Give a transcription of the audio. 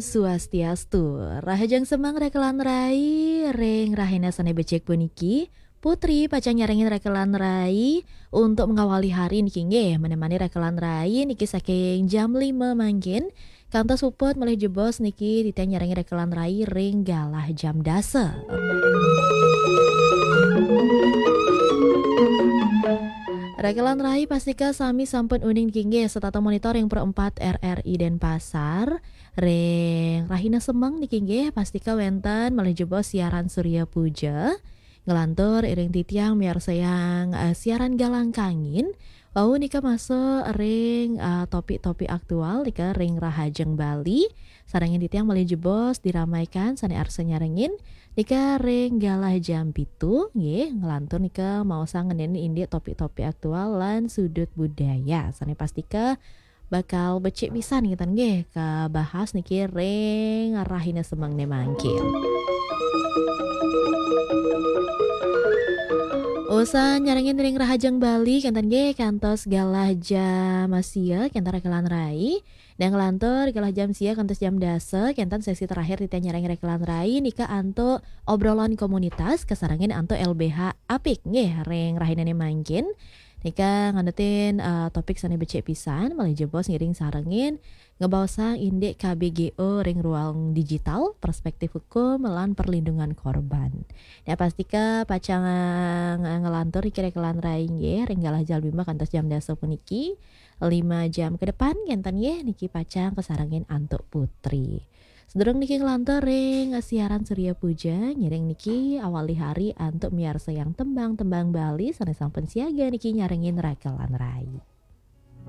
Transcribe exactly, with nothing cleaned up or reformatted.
Swastiastu. Rahajeng semeng rekelan rai, ring rahina sane becik puniki, Putri pacang nyarengin rekelan rai untuk mengawali hari niki nggih, menemani rekelan rai niki saking jam lima mangkin, kantos puput malih jebos niki titiang nyarengin rekelan rai ring galah jam dasa. Rekelan rai pastika sami sampun uning niki nggih, setata monitor ring Pro empat R R I Denpasar. Ring rahina semeng niki nggih, pastika wenten malih jebos siaran Surya Puja. Nglantur iring titiang miarsayang, eh, siaran Galang Kangin. Wau nika masuk ring, eh, topik-topik aktual nika ring Rahajeng Bali. Sarengin titiang malih jebos diramaikan sane arsa nyarengin nika ring galah jam pitu nggih, nglantur nika maosang ngeninin indik topik-topik aktual lan sudut budaya. Sane pastika bakal becik pisan ngeten nggih kabahas niki ring rahina semengne mangkin. Usan nyarengin ring Rahajeng Bali kenten nggih kantos galah jam sia kenten rekelan rai. Dan nglantur galah jam sia kantos jam dasa kenten sesi terakhir titiang nyarengin rekelan rai nika antuk obrolan komunitas kasarengin antuk L B H Apik nggih ring rahinane mangkin. Nika nganutin, eh, topik sane becik pisan malih jebos ngiring sarengin ngebaosang indik K B G O ring ruang digital, perspektif hukum lan perlindungan korban. Nah, pastika pacang, eh, nglantur niki rekelan rai nggih ring galah jam lima kantos jam dasa puniki. Lima jam ke depan kenten nggih niki pacang kasarengin antuk Putri. Sedurung niki nglantur ring siaran Surya Puja, ngiring niki awali hari antuk miarsayang tembang-tembang Bali sane sampun siaga niki nyarengin rekelan rai.